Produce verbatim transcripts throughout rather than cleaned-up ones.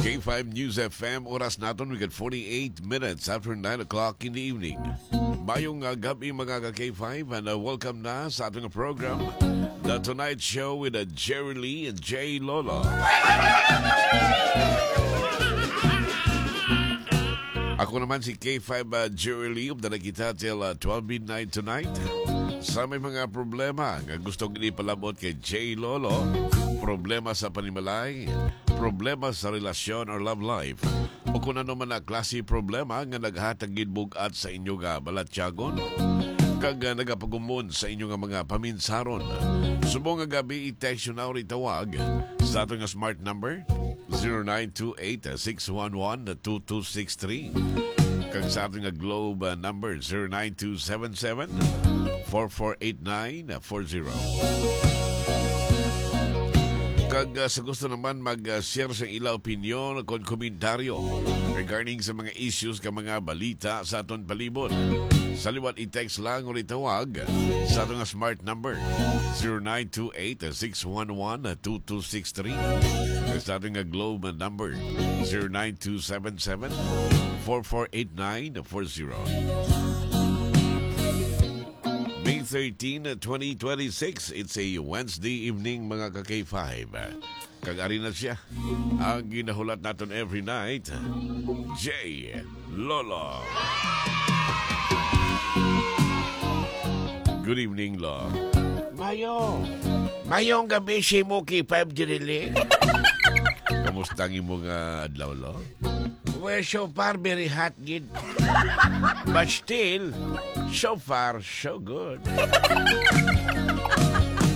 K five News F M, oras naton, we got forty-eight minutes after nine o'clock in the evening. Mayong, uh, gabi, mga ka K five, and, uh, welcome na sa ating program, The Tonight Show with, uh, Jerry Lee and Jay Lolo. Ako naman si K five, uh, Jerry Lee. Upda na kita till, uh, twelve midnight tonight. Sa may mga problema nga gusto gid ipalabot kay Jay Lolo, problema sa panimalay, problema sa relasyon or love life, o kung ano man na klase problema nga naghatag gid bug-at sa inyo nga balatyagon, kag, ah, nagapagumon sa inyo nga mga paminsaron, subong nga gabi, i-text nyo na or itawag sa ato nga smart number, zero nine two eight, six one one, two two six three, kag sa ato nga Globe, ah, number, zero nine two seven seven, four four eight nine four zero. Kag, ah, sa gusto naman mag, ah, share sa ila opinyon o kon komentaryo regarding sa mga issues ka mga balita sa aton palibot, sa liwat i-text lang o itawag sa aton nga smart number, zero nine two eight, six one one, two two six three. Sa aton nga Globe number, zero nine two seven seven, four four eight nine four zero. May thirteen, twenty twenty-six. It's a Wednesday evening, mga ka K five. Kag ari na siya, ang ginahulat naton every night, Jay Lolo. Good evening, Lo. Mayo. Mayong gabi, si Muki Five Dirili. Kamusta ang imo nga adlaw, Lo? Well, so far, very hot gid. But still, so far, so good.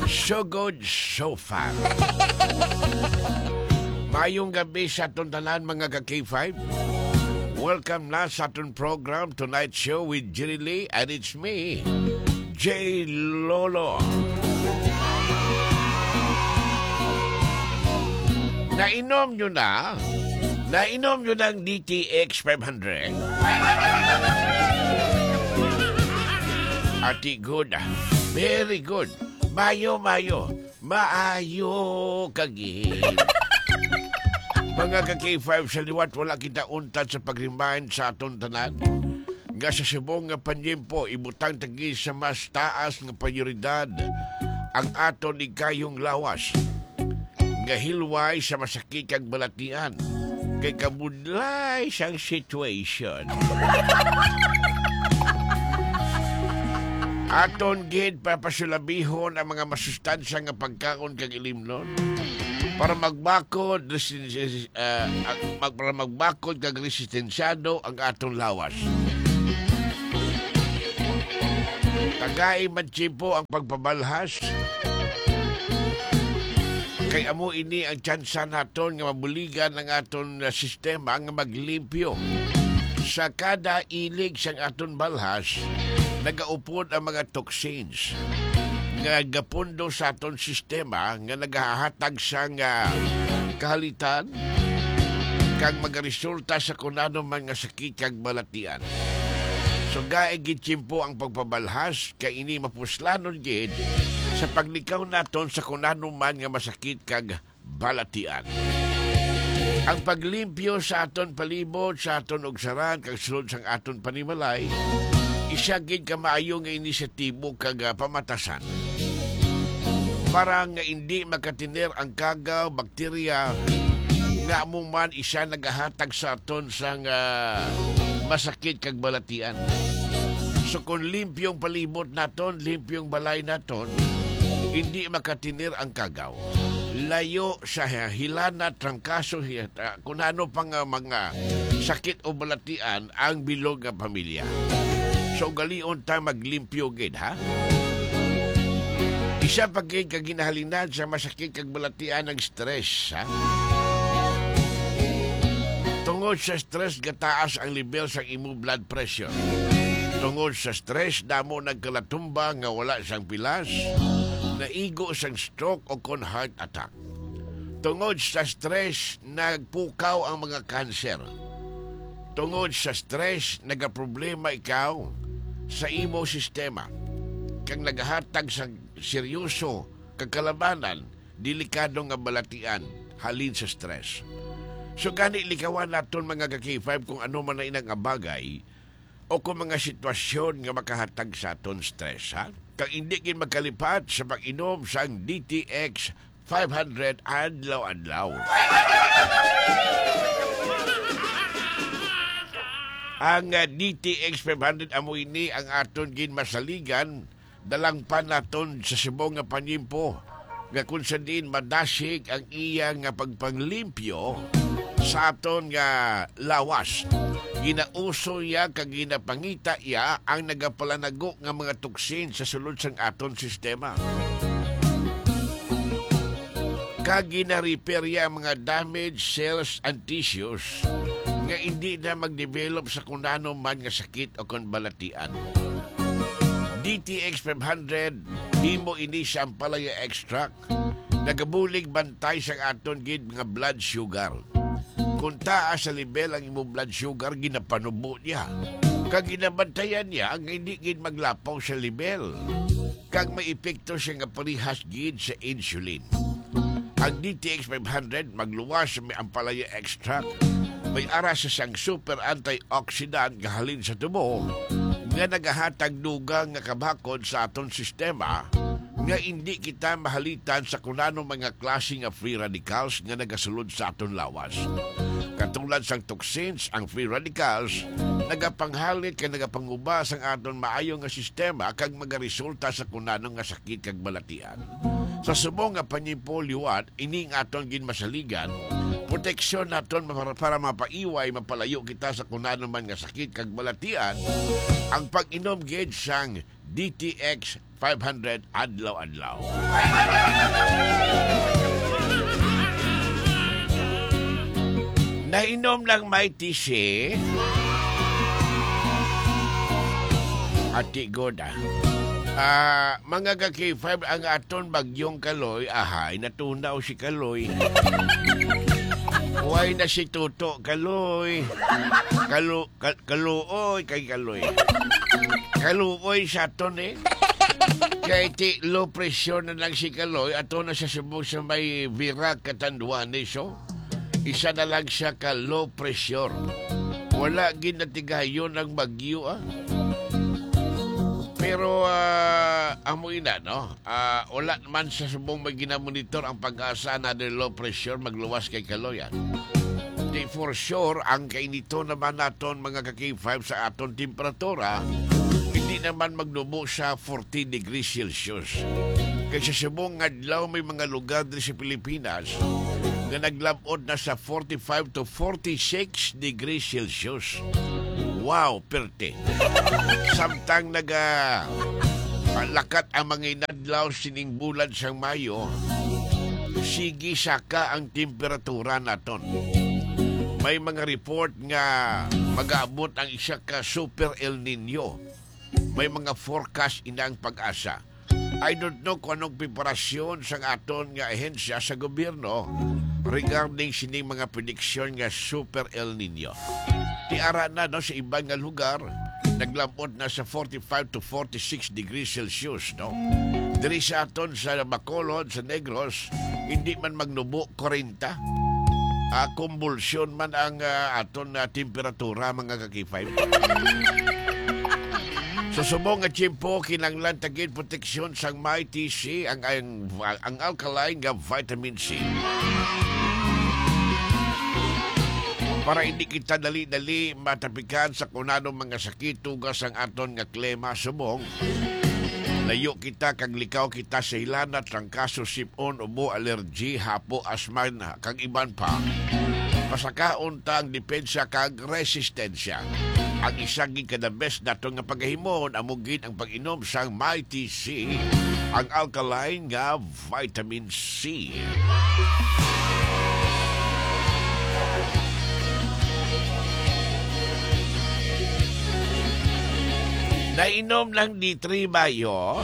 So good, so far. Mayong gabi sa aton tanan, mga ka K five. Welcome na sa aton program, Tonight Show with Jerry Lee, and it's me, J Lolo. Nainom nyo na? Nainom nyo ng D T X five hundred? Ati, good. Very good. Mayo, mayo. Maayo kagid. Mga ka K five, sa liwat, wala kita untad sa pag-remind sa aton tanan nga sa subong nga panyempo, ibutang ta gid sa mas taas nga prioridad ang aton higayong lawas nga hilway sa masakit kag balatian kay kabudlay sang situation. Aton gid papasulabihon ang mga masustansya nga pagkaon kag ilimnon para magbakod, resi-, ah, ag-, mag-, para magbakod kag resistensyado ang aton lawas. Tagai man tiyempo ang pagpabalhas, kay amo ini ang tsansa naton nga mabuligan ang aton, ah, sistema nga maglimpyo. Sa kada ilig sang aton balhas, nagaupod ang mga toxins nga gapundo sa aton sistema nga nagahatag sang, ah, kahalitan kag magaresulta sa kun ano man nga sakit kag balatian. Sugai gid tiyempo ang pagpabalhas, kay ini mapuslanon gid sa paglikaw naton sa kun ano man nga masakit kag balatian. Ang paglimpyo sa aton palibot, sa aton ugsaran, kag sulod sang aton panimalay, isa gid ka maayo nga inisyatibo kag, ah, pamatasan para nga indi makatener ang kagaw, bakterya, nga amo man isa nagahatag sa aton sang, ah, masakit kag balatian. So, kung limpyo ang palibot naton, limpyo ang balay naton, hindi makatener ang kagaw. Layo sa hilana, trangkaso, hi-, ah, kung ano pa nga mga sakit o balatian ang bilog nga pamilya. So, ugalion ta maglimpyo gid, ha? Isa pa gid ka ginahalinan sa masakit kag balatian ang stress, ha? Tungod sa stress, gataas ang level sang imo blood pressure. Tungod sa stress, damo nagkalatumba nga wala sang pilas, naigo sang stroke o kon heart attack. Tungod sa stress, nagpukaw ang mga kanser. Tungod sa stress, nagaproblema ikaw sa imo sistema, kag nagahatag sa seryoso kag kalabanan, delikado nga balatian halin sa stress. So, gani, likawan naton, mga ka-K five, kung ano man na inang bagay o kung mga sitwasyon nga makahatag sa aton stress, ha? Kag hindi gid magkalipat sa pag-inom sang D T X five hundred adlaw-adlaw. Ang, ah, D T X five hundred amo ini ang aton ginmasaligan, dalangpan naton sa subong nga panyimpo, nga kung sa diin madasig ang iya nga pagpanglimpyo sa aton nga lawas. Ginauso iya kag ginapangita iya ang nagapalanago nga mga toksin sa sulod sang aton sistema. Kag gina-repair iya ang mga damaged cells and tissues nga indi na mag-develop sa kunano man nga sakit o kon balatian. D T X five hundred, himo ini sa ampalaya extract, nagabulig bantay sang aton gid nga blood sugar. Kung taas sa level ang imong blood sugar, ginapanubo niya. Kag ginabantayan niya nga hindi gid maglapaw sa level. Kag may epekto siya nga parehas gid sa insulin. Ang D T X five hundred magluwas sa may ampalaya extract. May ara sa sang super antioxidant nga halin sa tubo nga nagahatag dugang nga kabakod sa aton sistema nga indi kita mahalitan sa kunano mga klase nga free radicals nga nagasulod sa aton lawas. Katulad sang toxins, ang free radicals nagapanghalit kag nagapanguba sang aton maayo nga sistema kag magaresulta sa kunano nga sakit kag balatian. Sa subong nga panyimpo liwat, ini nga aton ginmasaligan, proteksyon naton para, para mapaiway, mapalayo kita sa kunano man nga sakit kag balatian, ang pag-inom gid sang D T X five hundred adlaw-adlaw. Nainom lang may tisi. Ati god, ah. Ah, mga ka-K five, ang aton bagyong Kaloy, ahay, natunaw si Kaloy. Way na si Tuto Kaloy. Kalo-, Kal-, Kaluoy kay Kaloy. Kaluoy sa aton, eh. Kay ti low pressure na lang si Kaloy, ato na sa subong sa may Virac, Catanduanes, oh. Isa na lang siya ka low pressure. Wala ginatigayon ang bagyo, ah. Pero, ah, amo ina, no? Ah, wala man sa subong may ginamonitor ang PAGASA na the low pressure magluwas kay Kaloy, ah. Di for sure, ang kainiton naman naton, mga ka-K five, sa aton temperatura, hindi naman magnubo sa forty degrees Celsius. Kay sa subong nga adlaw, may mga lugar diri sa Pilipinas nga naglab-ot na sa forty-five to forty-six degrees Celsius. Wow, perte. Samtang naga, ah, lakat ang mga inadlaw sining bulan sang Mayo, sige saka ang temperatura naton. May mga report nga mag-aabot ang isa ka Super El Nino. May mga forecast inang PAGASA. I don't know kung anong preparasyon sang aton nga ahensya sa gobyerno regarding sining mga prediksyon nga Super El Nino. Ti ara na, no, sa iban nga lugar, naglab-ot na sa forty-five to forty-six degrees Celsius, no? Diri sa aton sa Bacolod, sa Negros, hindi man magnubo, kwarenta. Ah, kumbulsyon man ang, ah, aton, ah, temperatura, mga ka-K five. Sa subong nga tiyempo, kinahanglan ta gid proteksyon sang Mighty C, ang, ang, ang alkaline nga vitamin C. Para hindi kita dali-dali matapikan sa kunano mga sakit, tugas ang aton nga klema subong. Layo kita kag likaw kita sa hilana, trangkaso, sip-on, ubo, allergy, hapo, asma, kag iban pa. Pasakaon ta ang depensa kag resistensya. Ang isa gid ka the best nato nga pagahimuon amo gid ang pag-inom sang Mighty C, ang alkaline nga vitamin C. Nainom ng D three Bio?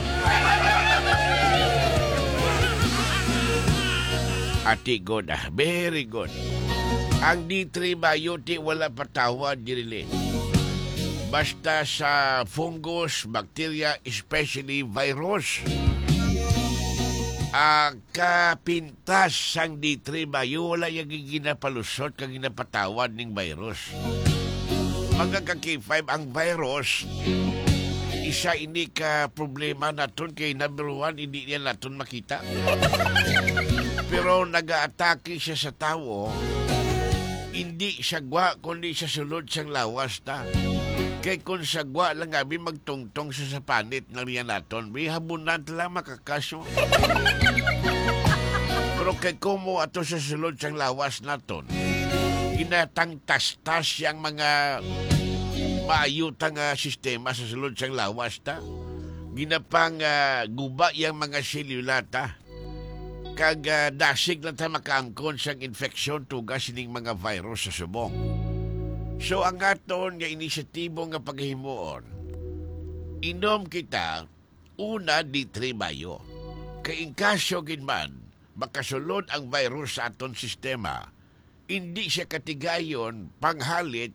Ati good, ah. Very good. Ang D three Bio, ti wala patawad, Jerilyn. Basta sa fungus, bacteria, especially virus. Ah, kapintas sang D three bayo, wala ya ginapalusot kag ginapatawad ning virus. Mga ka K five, ang virus, isa ini ka problema naton kay number one, hindi niya naton makita. Pero nagaatake siya sa tawo, hindi sa gwa, kundi sa sulod sang lawas ta. Kay kung sa gwa lang, abi, magtungtong sa sapanit na riyan naton, bi, habunan ta lang makakaso. Pero kay kumo ato sa sulod sang lawas naton, ginatangtastas yang mga maayo ta nga sistema sa sulod sang lawas ta. Ginapang, ah, guba yang mga selula ta. Kag, ah, dasig lang ta makaangkon sang infeksyon tuga sining mga virus sa subong. So, ang aton nga inisyatibo nga paghimuon, inom kita una D three bayo. Kay in kaso gid man makasulod ang virus sa aton sistema, indi siya katigayon panghalit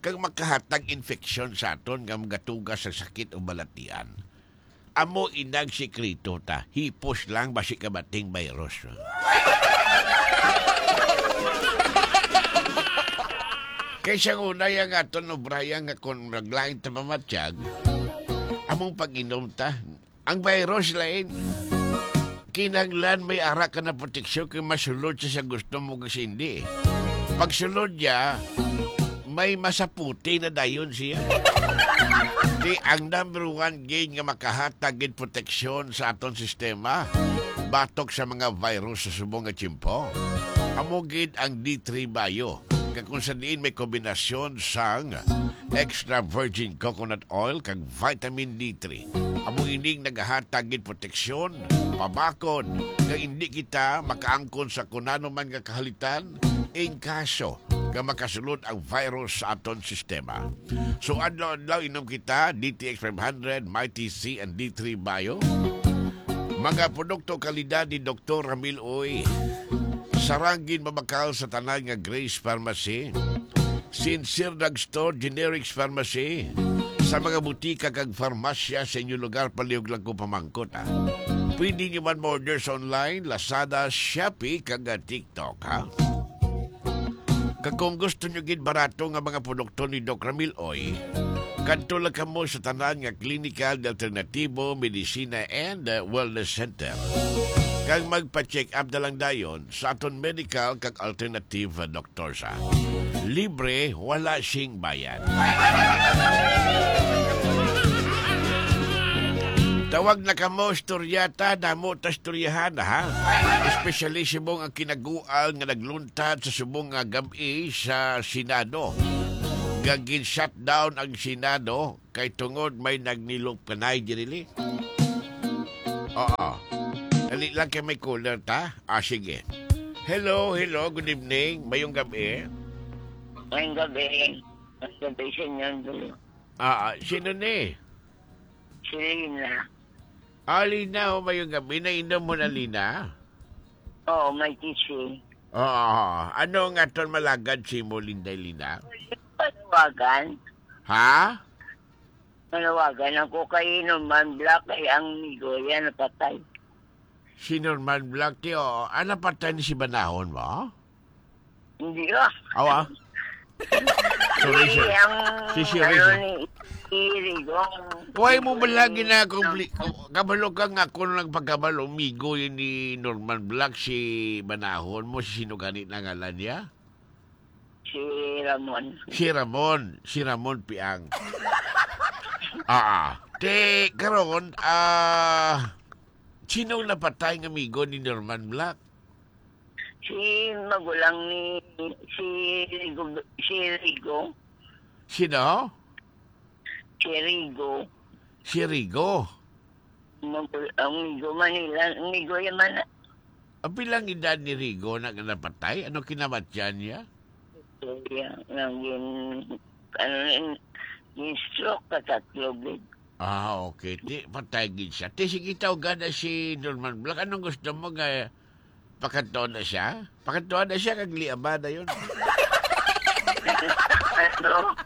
kag makahatag infeksyon sa aton nga magatuga sa sakit o balatian. Amo inang sikreto ta, hipos lang basi kabating virus. Kay sa una, yang aton obraya nga kung naglain ta mamatyag, among pag-inom ta, ang virus lain. Kinahanglan may ara ka na proteksyon kay masulod siya sa gusto mo kag sa hindi. Pagsulod niya, may masaputi na dayon siya. Di ang number one gid nga makahatag gid proteksyon sa aton sistema batok sa mga virus sa subong nga tiyempo, amo gid ang D three Bio, nga kung sa diin may kombinasyon sang extra virgin coconut oil kag vitamin D three. Amo ining nagahatag gid proteksyon, pabakod, nga indi kita makaangkon sa kunano man nga kahalitan in kaso nga makasulod ang virus sa aton sistema. So, adlaw-adlaw inom kita, D T X five hundred, Mighty C, and D three Bio. Mga produkto kalidad ni Doktor Ramil Uy. Sarang gid mabakal sa tanan nga Grace Pharmacy, Sincere Drugstore, Generics Pharmacy, sa mga butika kag farmasya sa inyo lugar, palihog lang ko pamangkot, ah. Pwede nyo man ma-order sa online, Lazada, Shopee, kag, ah, TikTok, ha? Kag kung gusto nyo gid barato nga mga produkto ni Doc Ramil Oy, kadto lang kamo sa tanan nga klinikal nga alternatibo, medisina, and, uh, wellness center. Kag magpa-check up na lang dayon sa aton medical kag alternative, uh, doctors, ha. Libre, wala sing bayad. Tawag na kamo, istorya ta, damo ta istoryahan, ha? Especially subong ang kinagual nga nagluntad sa subong nga gab-i sa Senado. Nga gin-shutdown ang Senado kay tungod may nagnilop kanay diri. Oo. Dali lang kay may caller ta. Ah, sige. Hello, hello, good evening. Mayong gabi. Mayong gabi. Mayong gabi sa inyo, Andrew. Ah, ah, sino ni? Si Lina. Ah, Lina, oh, mayong gabi. Nainom mo na, Lina? Oo, may tissue. Oo. Ano nga ton malagad si mo, Linday Lina? Panawagan. Ha? Manawagan ako kay Norman Black, kay ang migo yan napatay. Si Norman Black, ti, oo. Ah, napatay ni si Banahon mo? Hindi, ah. Awa? Sorry, Hindi, sir. ang, Si Sherry, ano sir. ni, si Rigong. Why mo ba lagi na kompli-, kabalo ka nga ako nang nagpakabalo, migo yun ni Norman Black, si Banahon mo, si sino gani na ngalan niya? Si Ramon. Si Ramon, si Ramon Piang. Ah, ah. Te, karon, ah, sinong napatay nga migo ni Norman Black? Si magulang ni, si Rigo, si Rigo. Sino? Si Rigo. Si Rigo. Magul-, ang Migo Manila, Migo Yamana. Ang pilang edad ni Rigo na napatay? Ano kinamatyan niya? Kaya, naging, ano, in-, in-stroke ka tatlo, gid. Ah, okay. Ti, patay gid siya. Ti, sige, tawagan na si Norman Black. Anong gusto mo nga pakadtuan na siya? Pakadtuan na siya, kag liaba na yun. Ano?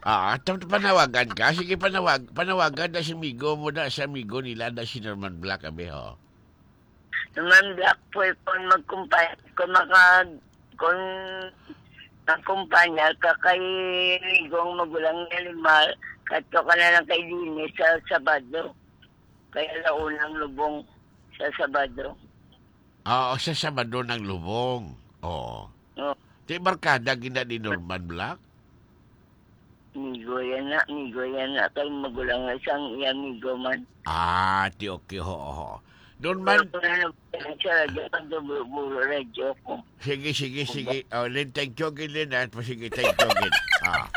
Ah, tam-, panawagan ka? Sige, panawag-, panawagan na si Migo mo na, si amigo nila na si Norman Black, abi, ho. Norman Black po, eh, kung magkumpay-, kung makag-, kung magkumpanya ka kay Rigong magulang ni Limar, kadto ka na lang kay Dini sa Sabado. Kay ala-una ang lubong sa Sabado. Oo, sa Sabado ang lubong. Oo. Oo. Ti barkada gina ni Norman Black? Migo yan na, migo yan na. Kay magulang na siyang iya migo man. Ah, ti okay, ho, ho. Norman, pero kung ano, siya, radyo, pag buro-buro, radyo ko. Sige, sige, sige. Oh, Lin, thank you again, Lin, ha? Sige, thank you again. Ah,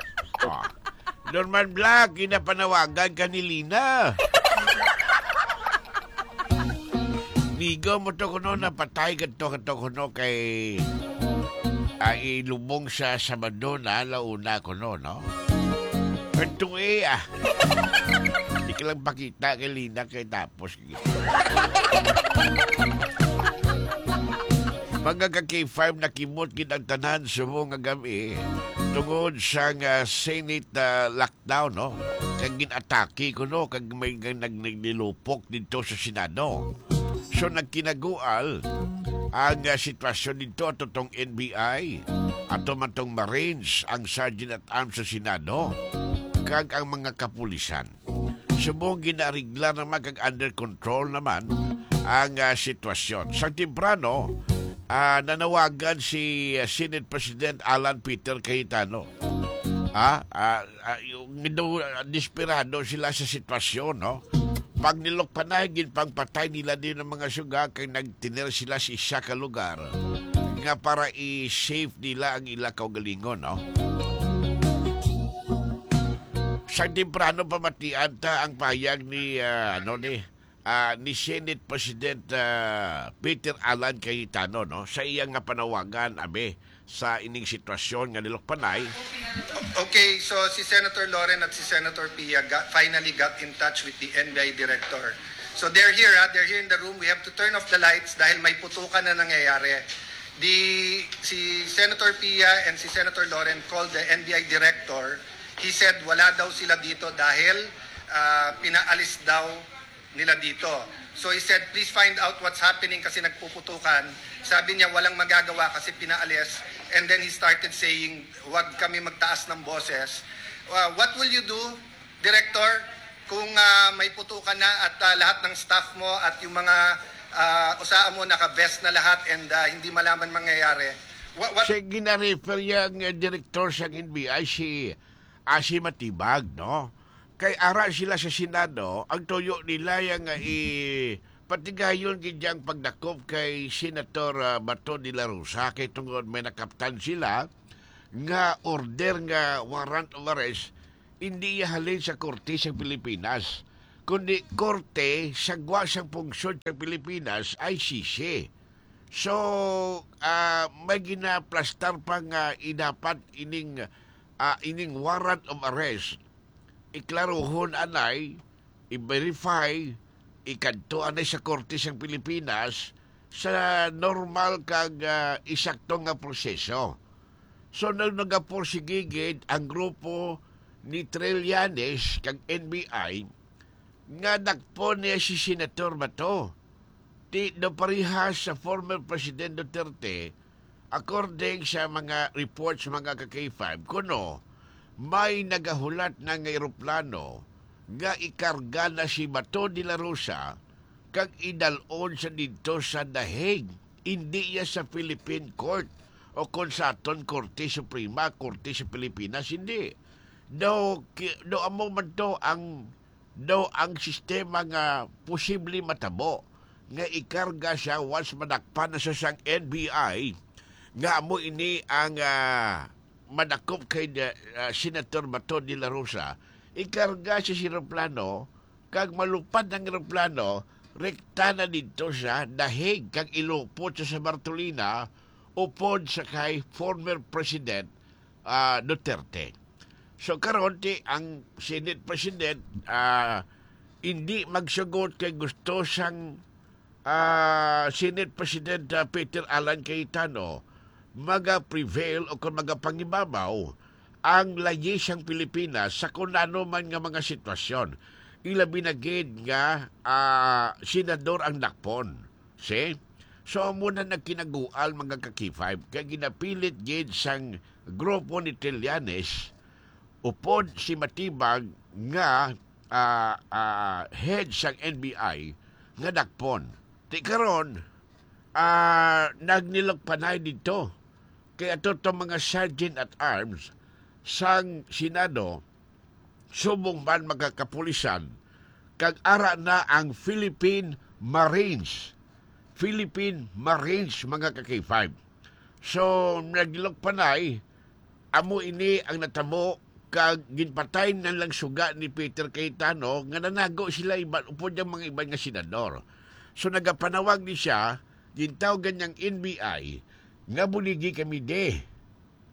ah. Norman Black, ginapanawagan ka ni Lina. Migo mo to kuno, napatay ka to, ka to kuno kay, ah, ilubong sa Sabado na, ala-una kuno, no? Pero tunga, ah. Di ka lang pakita kay Lina kay tapos. Mga ka K five, nakimot gid ang tanan subong nga gab-i tungod sa nga Senate, ah, lockdown, no? Kag gin-atake kuno, kag may nag-, nagnilupok didto sa Senado. So, nagkinagual ang, ah, sitwasyon didto ato tong N B I, ato man tong Marines, ang Sergeant at Arms sa Senado, kag ang mga kapulisan. Subong ginarigla naman kag under control naman ang, ah, sitwasyon. Sa temprano, ah, nanawagan si, ah, Senate President Alan Peter Cayetano. Ah, ah, ah, yung daw, ah, desperado sila sa sitwasyon, no? Pag nilukpanay, ginpangpatay nila din ang mga suga kay nagtener sila sa isa ka lugar nga para i-safe nila ang ila kaugalingon, no? Sa temprano, pamatian ta ang pahayag ni, ah, ano ni, ah, ni Senate President, ah, Peter Alan Cayetano, no, sa iya nga panawagan, abi, sa ining sitwasyon nga nilukpanay. Okay, so si Senator Loren at si Senator Pia got, finally got in touch with the N B I director. So they're here, ha? They're here in the room. We have to turn off the lights dahil may putukan na nangyayari. Di, si Senator Pia and si Senator Loren called the N B I director. He said wala daw sila dito dahil, ah, pinaalis daw nila dito. So he said, "Please find out what's happening kasi nagpuputukan." Sabi niya, "Walang magagawa kasi pinaalis." And then he started saying, "Wag kami magtaas ng boses." Uh, what will you do, Director, kung, ah, may putukan na at, ah, lahat ng staff mo at yung mga, ah, usaa mo naka-vest na lahat and, ah, hindi malaman mangyayari? What, what Sa gina-refer yang, eh, direktor sang N B I, si, ah, si Matibag, no? Kay ara sila sa Senado, ang tuyo nila yang, ah, i-, patigayon gid yang pagdakop kay Senator, ah, Bato de la Rosa, kay tungod may nakaptan sila nga order nga warrant of arrest, hindi iya halin sa korte sa Pilipinas, kundi korte sa gwa sang pungsod sa Pilipinas, I C C. So, ah, may ginaplastar pa nga i-, dapat ining, ah, ining warrant of arrest, iklaruhon anay, i-verify, ikadto anay sa korte sang Pilipinas sa normal kag, ah, eksakto nga proseso. So, nag-, nagapursige gid ang grupo ni Trillanes kag N B I nga dakpon niya si Senator Bato. Ti, daw parehas sa former President Duterte, according sa mga reports, mga ka-K five, kuno may nagahulat na nga eroplano nga ikarga na si Bato de la Rosa kag idal-on sa didto sa The Hague, indi iya sa Philippine Court o kon sa aton Korte Suprema, Korte sa Pilipinas, hindi. Daw, ki-, daw amo man to ang, daw ang sistema nga posible matabo nga ikarga siya once madakpan na siya sang N B I, nga amo ini ang, ah, madakop kay, ah, Senator Bato de la Rosa, ikarga siya sa eroplano, kag malupad ang eroplano, rekta na didto sa The Hague, kag ilupot sa, sa Bartolina, upod sa kay former President, ah, Duterte. So, karon, ti, ang Senate President, ah, hindi magsugot kay gusto sang, ah, Senate President, ah, Peter Alan Cayetano maga-prevail o kung magapangibabaw ang layi sang Pilipinas sa kung ano man nga mga sitwasyon. Ilabi na gid nga, ah, senador ang dakpon. See? So, amo na nagkinagual, mga ka-K five, kay ginapilit gid sang grupo ni Trillanes upod si Matibag nga, ah, ah, head sang N B I nga dakpon. Ti karon, ah, nagnilok panay didto kay ato tong mga sergeant at arms sang Senado, subong man, mga kapulisan, kag ara na ang Philippine Marines. Philippine Marines, mga ka-K five. So, nagnilok panay, amo ini ang natabo, kag ginpatay na lang suga ni Peter Cayetano nga nanago sila iban, upod ang mga iban nga senador. So, nagapanawag ni siya, gintawgan niyang N B I, nga buligi kami di.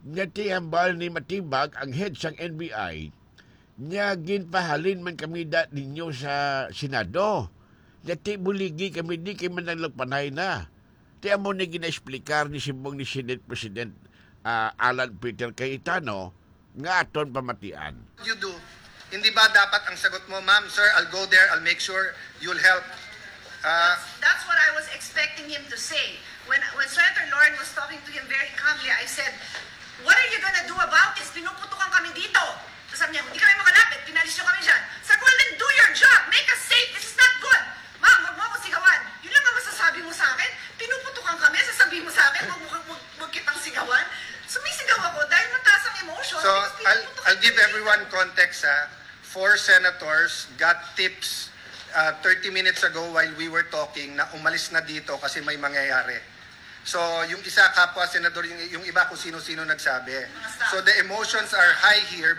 Nga ti hambal ni Matibag, ang head sang N B I, nga ginpahalin man kami da ninyo sa Senado. Nga ti buligi kami di kay mananglagpanay na. Ti amo ni ginaexplikar ni subong ni Senate President, ah, Alan Peter Cayetano nga aton pamatian. You do. Hindi ba dapat ang sagot mo, "Ma'am, sir, I'll go there, I'll make sure you'll help"? Ah, That's, that's what I was expecting him to say. When when Senator Loren was talking to him very calmly, I said, "What are you gonna do about this? Pinuputukan kami dito." Tapos sabi niya, "Hindi kami makalapit. Pinalis niyo kami dyan." Sabi ko, "Well, then do your job. Make us safe. This is not good. Ma'am, wag mo ako sigawan." Yun lang ang masasabi mo sa akin. "Pinuputukan kami, sasabihin mo sa akin, wag mo, wag, wag kitang sigawan." Sumisigaw ako dahil mataas ang emotion. So, because I'll, pinuputukan I'll give kami. Everyone context, ha. Four senators got tips uh, thirty minutes ago while we were talking na umalis na dito kasi may mangyayari. So, yung isa, kapwa senador, yung, yung iba kung sino-sino nagsabi. So, the emotions are high here